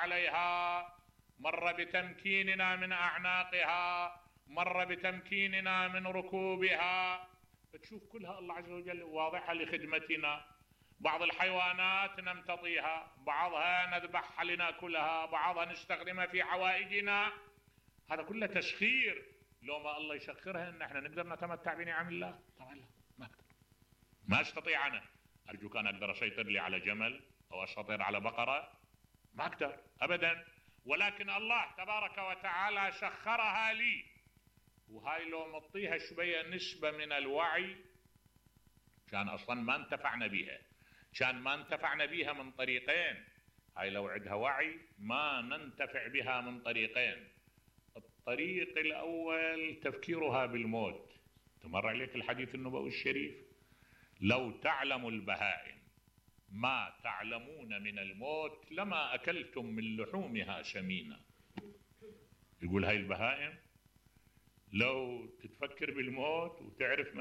عليها، مر بتمكيننا من أعناقها، مر بتمكيننا من ركوبها. تشوف كلها الله عز وجل واضحة لخدمتنا. بعض الحيوانات نمتطيها، بعضها نذبحها لناكلها، بعضها نستخدمها في حوائجنا. هذا كله تسخير. لو ما الله يسخرها ان احنا نقدر نتمتع بنعم الله؟ طبعا لا، ما اقدر، ما استطيع. انا ارجوك انا اقدر اسيطر لي على جمل او اسيطر على بقرة؟ ما اقدر ابدا. ولكن الله تبارك وتعالى سخرها لي. وهاي لو مطيها شوية نسبة من الوعي كان اصلا ما انتفعنا بها، كان ما انتفعنا بها من طريقين. هاي لو عندها وعي ما ننتفع بها من طريقين. الطريق الاول تفكيرها بالموت. تمر عليك الحديث النبوي الشريف: لو تعلم البهائم ما تعلمون من الموت لما اكلتم من لحومها سمينا. يقول هاي البهائم لو تتفكر بالموت وتعرف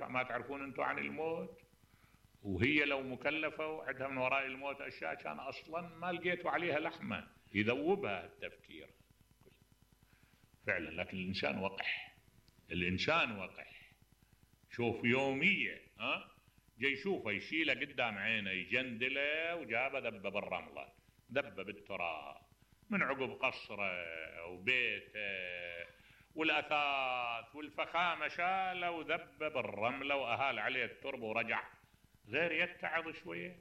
ما تعرفون انتم عن الموت، وهي لو مكلفة وعندها من وراء الموت أشياء كان أصلا ما لقيتوا عليها لحمة يذوبها التفكير فعلا. لكن الإنسان وقح، الإنسان وقح. شوف يومية جاي يشوفه يشيله قدام عينه يجندله وجابه ذبه بالرملة، ذبه بالتراب من عقب قصره وبيته والأثاث والفخامة، شاله وذبه بالرملة وأهال عليه التربة ورجع. غير يتعظ شوية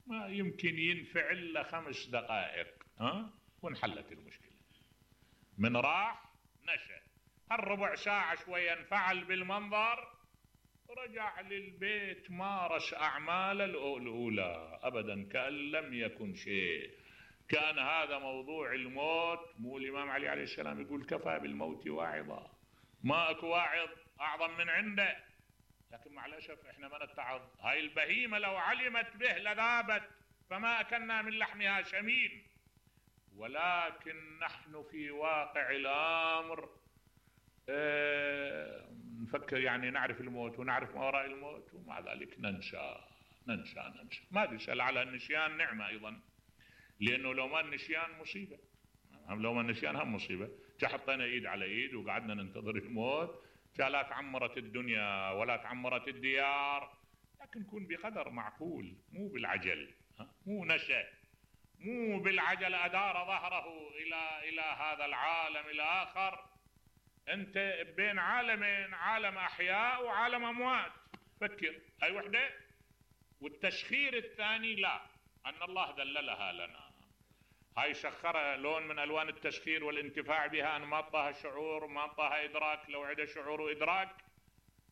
ما يمكن ينفعل له 5 دقائق وانحلت المشكلة. من راح نشأ هالربع ساعة شوية انفعل بالمنظر، رجع للبيت مارس أعماله الأولى أبدا كأن لم يكن شيء. كان هذا موضوع الموت. مو الإمام علي عليه السلام يقول: كفى بالموت واعظا، ما اكو واعظ أعظم من عنده. لكن مع الأسف احنا ما نتعظ. هاي البهيمة لو علمت به لذابت، فما أكلنا من لحمها شمين. ولكن نحن في واقع الأمر نفكر يعني نعرف الموت ونعرف ما وراء الموت، ومع ذلك ننسى. ما تسأل على النسيان نعمة أيضا، لأنه لو ما النسيان مصيبة، لو ما النسيان هم مصيبة. حطينا إيد على إيد وقعدنا ننتظر الموت، لا تعمرت الدنيا ولا تعمرت الديار. لكن كن بقدر معقول، مو بالعجل، مو نشأ، مو بالعجل أدار ظهره إلى هذا العالم الآخر. أنت بين عالمين، عالم أحياء وعالم أموات. فكر هاي وحدة. والتسخير الثاني لا، أن الله دللها لنا. هاي سخرها لون من ألوان التسخير والانتفاع بها، أن ما أعطاها شعور ما أعطاها إدراك. لو عدا شعور وإدراك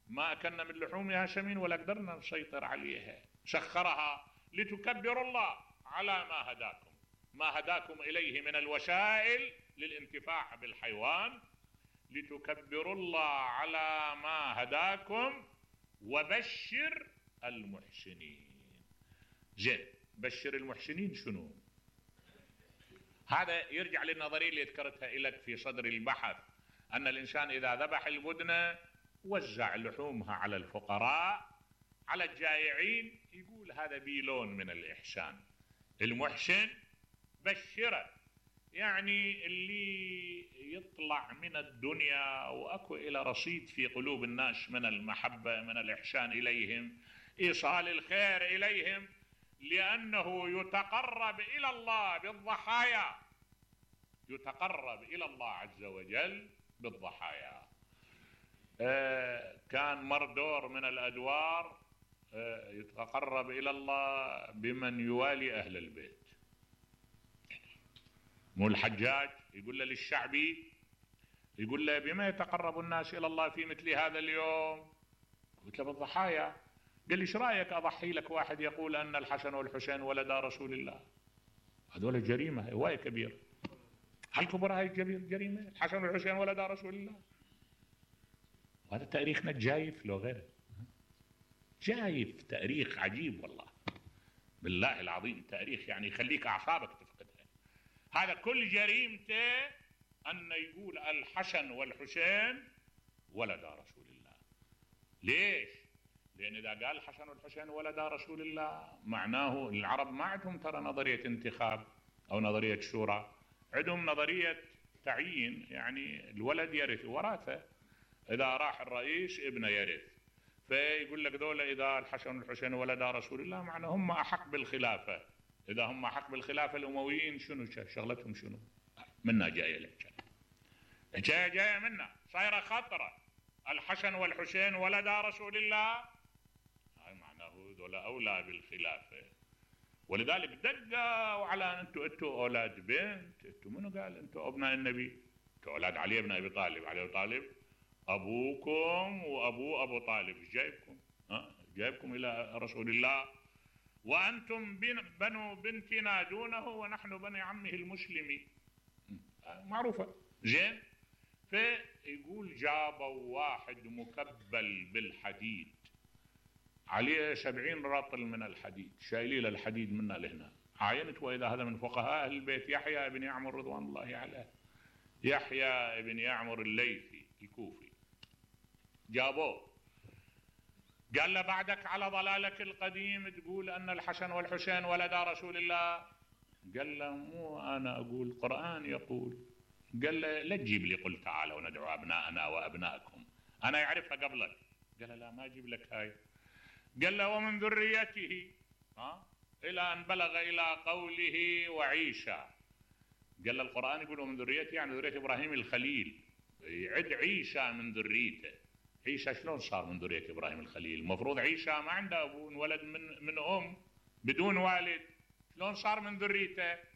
ما أكلنا من لحومها سمين ولا قدرنا نسيطر عليها. سخرها لتكبروا الله على ما هداكم إليه من الوسائل للانتفاع بالحيوان، لتكبروا الله على ما هداكم وبشر المحسنين. زين، بشر المحسنين شنو؟ هذا يرجع للنظرية اللي ذكرتها لك في صدر البحث، أن الإنسان إذا ذبح البدنة وزع لحومها على الفقراء على الجائعين، يقول هذا بيلون من الإحسان. المحسن بشره، يعني اللي يطلع من الدنيا وأكو إلى رصيد في قلوب الناس من المحبة، من الإحسان إليهم، إيصال الخير إليهم، لأنه يتقرب إلى الله بالضحايا، يتقرب إلى الله عز وجل بالضحايا. كان مردور من الأدوار يتقرب إلى الله بمن يوالي أهل البيت. مو الحجاج يقول له للشعبي، يقول له بما يتقرب الناس إلى الله في مثل هذا اليوم؟ قلت له بالضحايا. قال لي ايش رايك اضحي لك واحد يقول ان الحسن والحسين ولدا رسول الله؟ هذول جريمه هوايه كبيره. هل كبر هاي جريمه؟ الحسن والحسين ولدا رسول الله. وهذا تاريخنا جايف لو غيره، جايف تاريخ عجيب والله، بالله العظيم تاريخ يعني يخليك اعصابك تفقدها. هذا كل جريمته ان يقول الحسن والحسين ولدا رسول الله. ليش؟ لأن إذا قال الحسن والحسين ولدا رسول الله معناه العرب ما عندهم ترى نظرية انتخاب أو نظرية شورى، عندهم نظرية تعيين، يعني الولد يرث وراثة، إذا راح الرئيس ابنه يرث، فيقول لك دولة إذا الحسن والحسين ولدا رسول الله معنى هم أحق بالخلافة، إذا هم أحق بالخلافة الأمويين شنو شغلتهم شنو؟ منا جاية لك، جاية منا، صايرة خطرة، الحسن والحسين ولدا رسول الله، هاي معناه دولة أولى بالخلافة. ولذلك دقوا على انتوا اولاد بنت، انتوا منو قال انتوا ابناء النبي؟ انتوا اولاد علي بن ابي طالب، علي بن طالب ابوكم وابو ابو طالب، ايش جايبكم؟ جايبكم الى رسول الله وانتم بنو بنتنا دونه ونحن بني عمه المسلم، معروفه زين. فيقول جابوا واحد مكبل بالحديد عليه 70 رطل من الحديد، شايلين الحديد منا لهنا، عاينت واذا هذا من فقهاء اهل البيت يحيى بن يعمر رضوان الله عليه، يحيى بن يعمر الليثي الكوفي، جابوه قال له بعدك على ضلالك القديم تقول ان الحسن والحسين ولدا رسول الله، قال له مو انا اقول، القرآن يقول. قال له لا تجيب لي قل تعالوا ندعو ابناءنا وابناءكم، انا يعرفها قبلك. قال له لا ما اجيب لك هاي. قال له ومن ذريته الى ان بلغ الى قوله وعيسى، قال له القرآن يقول ومن ذريته يعني ذرية ابراهيم الخليل، يعد عيسى من ذريته. عيسى شلون صار من ذرية ابراهيم الخليل؟ المفروض عيسى ما عنده ابو، ولد من ام بدون والد، شلون صار من ذريته؟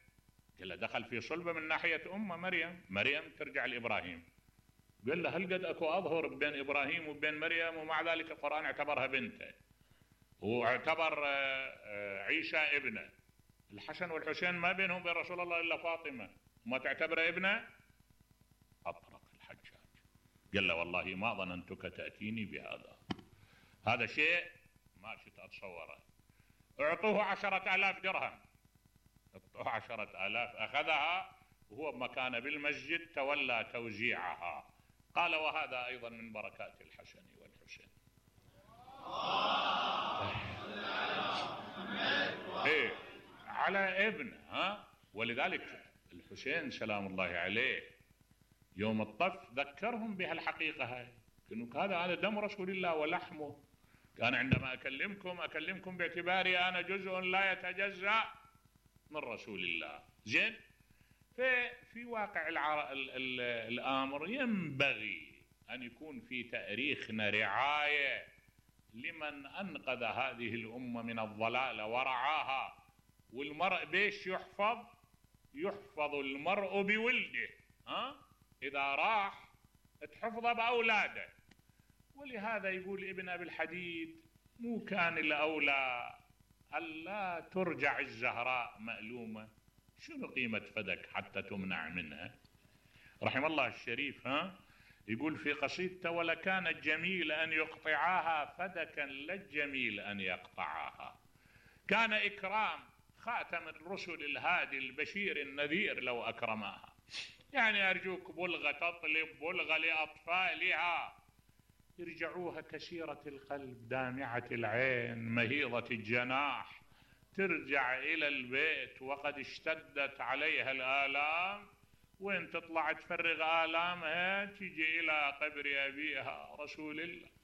قال له دخل في صلبه من ناحيه امه مريم ترجع لابراهيم. قال له هل قد اكو اظهر بين ابراهيم وبين مريم ومع ذلك القرآن اعتبرها بنته واعتبر عيسى ابنه؟ الحسن والحسين ما بينهم وبين رسول الله الا فاطمه، ما تعتبره ابنه؟ اطرق الحجاج قال له والله ما ظننتك تاتيني بهذا، هذا شيء ما شئت اتصوره. اعطوه 10,000 درهم، اعطوه 10,000 اخذها وهو بمكانه بالمسجد تولى توزيعها. قال وهذا ايضا من بركات الحسن والحسين. ايه على ابنه ولذلك الحسين سلام الله عليه يوم الطف ذكرهم بهالحقيقه هاي، انه هذا دم رسول الله ولحمه، كان عندما اكلمكم باعتباري انا جزء لا يتجزأ من رسول الله. زين، في واقع الامر ينبغي ان يكون في تاريخنا رعايه لمن انقذ هذه الامه من الضلال ورعاها. والمرء بيش يحفظ المرء بولده، اذا راح تحفظه باولاده. ولهذا يقول ابن ابي الحديد مو كان الاولى الا ترجع الزهراء مألومه، شنو قيمه فدك حتى تمنع منها؟ رحم الله الشريف يقول في قصيدته ولكان الجميل ان يقطعاها فدكا لا الجميل ان يقطعاها. كان اكرام خاتم الرسل الهادي البشير النذير لو اكرماها. يعني ارجوك بلغه تطلب بلغه لاطفالها، يرجعوها كسيرة القلب دامعة العين مهيضة الجناح، ترجع إلى البيت وقد اشتدت عليها الآلام، وين تطلع تفرغ آلامها تجي إلى قبر أبيها رسول الله.